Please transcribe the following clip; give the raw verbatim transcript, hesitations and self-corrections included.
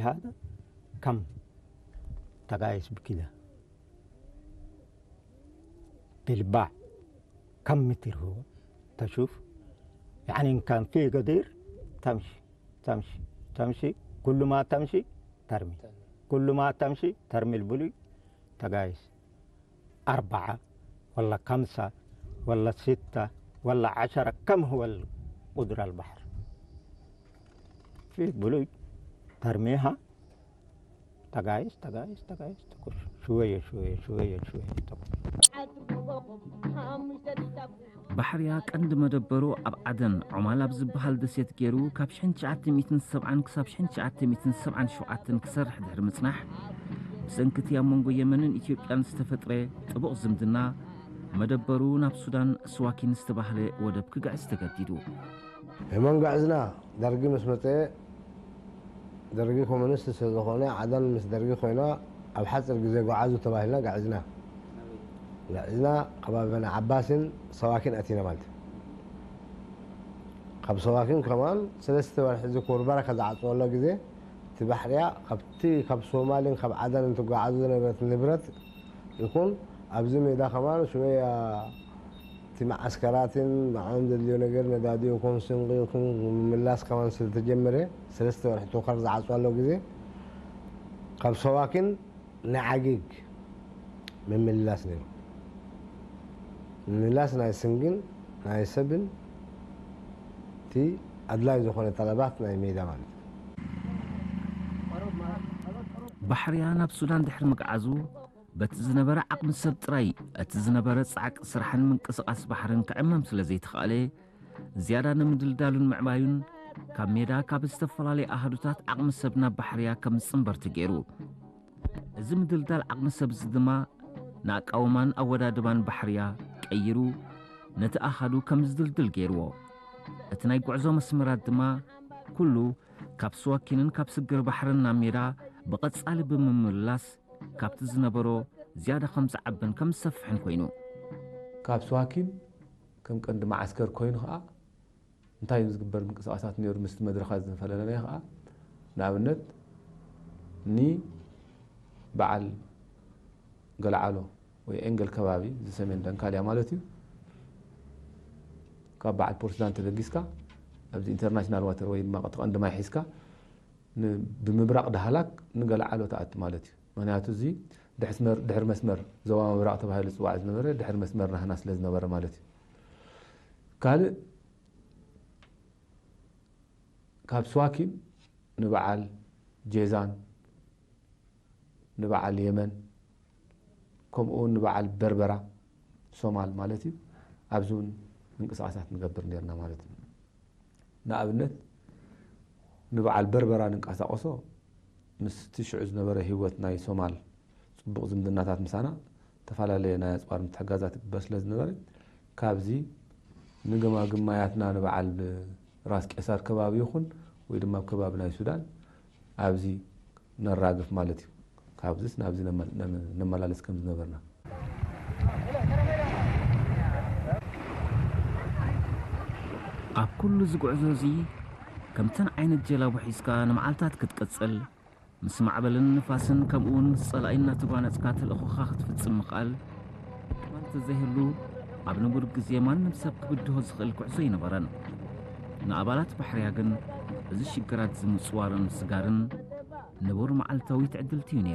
هذا كم تقايس بكده بالباع، كم متر هو؟ تشوف، يعني إن كان في قدير تمشي، تمشي، تمشي، كل ما تمشي ترمي، كل ما تمشي ترمي البلوي تقايس. أربعة ولا خمسة ولا ستة ولا عشرة، كم هو القدر البحر؟ في بلوج ترميها تقايس، تقايس، تقايس، تقول شوية، شوية، شوية، شوية، تقول. ባሕርያ ቀንዲ መደበሩ ኣብ ዓደን ዖማል ኣብ ዝበሃል ደሴት ገይሩ፣ ካብ ሽሕን ትሽዓተ ሚእትን ሰብዓን ክሳብ ሽሕን ትሽዓተ ሚእትን ሰብዓን ሸውዓተን ክሰርሕ ድሕሪ ምጽናሕ፣ ብሰንክቲ ኣብ መንጎ የመንን ኢትዮጵያን ዝተፈጥረ ጥቡቕ ዝምድና፣ መደበሩ ናብ ሱዳን ስዋኪን ዝተባህለ ወደብ ክግዕዝ ተገዲዱ። የመን ገዕዝና፣ ደርጊ ምስ መጸ፣ ደርጊ ኮሙኒስት ስለ ዝኾነ፣ ዓደን ምስ ደርጊ ኮይና፣ ኣብ ሓጽር ግዜ ጎዓዙ ተባሂልና ገዕዝና። ገዕዝና፣ ከባቢ በኒ ዓባስን ሰዋኪን ኣቲና ማለት። ካብ ሰዋኪን ከማን ሰለስተ ወርሒ ዝኩር በረከ ዝዓጽወሎ ግዜ፣ እቲ ባሕርያ ካብቲ ካብ ሶማልን ካብ ዓደን እንትጓዓዙ ዝነበረት ንብረት ይኩን፣ ኣብዚ ሜዳ ከማን ሽወያ እቲ መዓስከራትን ብዓም ዘድልዮ ነገር ነዳዲ ይኩን ስንቂ ይኩን ምምላስ ከማን ስለተጀመረ፣ ሰለስተ ወርሒ ቶከር ዝዓጽዋሎ ግዜ፣ ካብ ሰዋኪን ንዓጊግ ምምላስ ነይሩ። ምምላስ ናይ ስንግን ናይ ሰብን እቲ ኣድላይ ዝኾነ ጠለባት ናይ ሜዳ ማለት እዩ። ባሕርያ ናብ ሱዳን ድሕሪ ምግዓዙ፣ በቲ ዝነበረ ዓቕሚ ሰብ ጥራይ፣ እቲ ዝነበረ ጻዕቂ ስራሕን ምንቅስቓስ ባሕርን ክዕመም ስለ ዘይተኻእለ፣ ዝያዳ ንምድልዳሉን ምዕባዩን፣ ካብ ሜዳ ካብ ዝተፈላለየ ኣሃዱታት ዓቕሚ ሰብ ናብ ባሕርያ ከም ዝጽንበር ተገይሩ። እዚ ምድልዳል ዓቕሚ ሰብ እዚ ድማ፣ ንኣቃውማን ኣወዳድባን ባሕርያ ቀይሩ፣ ነቲ ኣሃዱ ከም ዝድልድል ገይርዎ። እቲ ናይ ጉዕዞ መስመራት ድማ፣ ኩሉ ካብ ስዋኪንን ካብ ስግር ባሕርን ናብ ሜዳ ብቐጻሊ ብምምላስ፣ ካብቲ ዝነበሮ ዝያዳ ከም ዝዓብን ከም ዝሰፍሕን ኮይኑ። ካብ ስዋኪን ከም ቀንዲ መዓስከር ኮይኑ ኸኣ፣ እንታይ እዩ ዝግበር ምንቅስቓሳት ነይሩ ምስቲ መድረኻት ዝፈለለናዮ ኸኣ፣ ንኣብነት፣ ኒ በዓል ገልዓሎ ወይ ኤንገል ከባቢ፣ እዚ ሰሜን ደንካልያ ማለት እዩ፣ ካብ በዓል ፖርትላንድ ተበጊስካ፣ ኣብዚ ኢንተርናሽናል ዋተር ወይ ድማ እቲ ቀንዲ ማይ ሒዝካ፣ ን-፣ ብምብራቕ ዳህላክ ንገለዓሎ ተኣቲ ማለት እዩ። ምክንያቱ፣ እዚ ድሕስመር-፣ ድሕሪ መስመር ዞባ ምብራቕ ተባሂሉ ዝጽዋዕ ዝነበረ፣ ድሕሪ መስመር ናህና ስለ ዝነበረ ማለት እዩ። ካልእ፣ ካብ ስዋኪን ንበዓል ጄዛን፣ ንበዓል የመን፣ ከምኡ እውን ንበዓል በርበራ፣ ሶማል ማለት እዩ፣ ኣብዚ እውን ምንቅስቓሳት ንገብር ነይርና ማለት እዩ። ንኣብነት፣ ንበዓል በርበራ ንንቀሳቐሶ፣ ምስቲ ሽዑ ዝነበረ ህይወት ናይ ሶማል ጽቡቕ ዝምድናታት ምሳና፣ እተፈላለየ ናይ ኣጽዋር ምትሕጋዛት ይግበር ስለ ዝነበረ፣ ካብዚ ንገማግም ማያትና ንበዓል ራስ ቄሳር ከባቢ ይኹን ወይ ድማ ኣብ ከባቢ ናይ ሱዳን ኣብዚ ነራግፍ ማለት እዩ። ካብዚስ ናብዚ ነመ-፣ ነመ-፣ ነመላለስ ከም ዝነበርና። ኣብ ኩሉ እዚ ጉዕዞ እዚ፣ ከምተን ዓይነት ጀላቡ ሒዝካ ንመዓልታት ክትቅጽል፣ ምስ ማዕበልን ንፋስን ከምኡውን ምስ ጸላኢ እናተጓነጽካ ተልእኾኻ ክትፍጽም ምኽኣል፣ እኳ እንተዘይህሉ፣ ኣብ ንቡር ግዜ ማንም ሰብ ክብድሆ ዝኽእል ጉዕዞ ኣይነበረን። ንኣባላት ባሕርያ ግን፣ እዚ ሽግራት እዚ ምጽዋርን ምስጋርን ንቡር መዓልታዊት ዕድልቲ እዩ ነይሩ።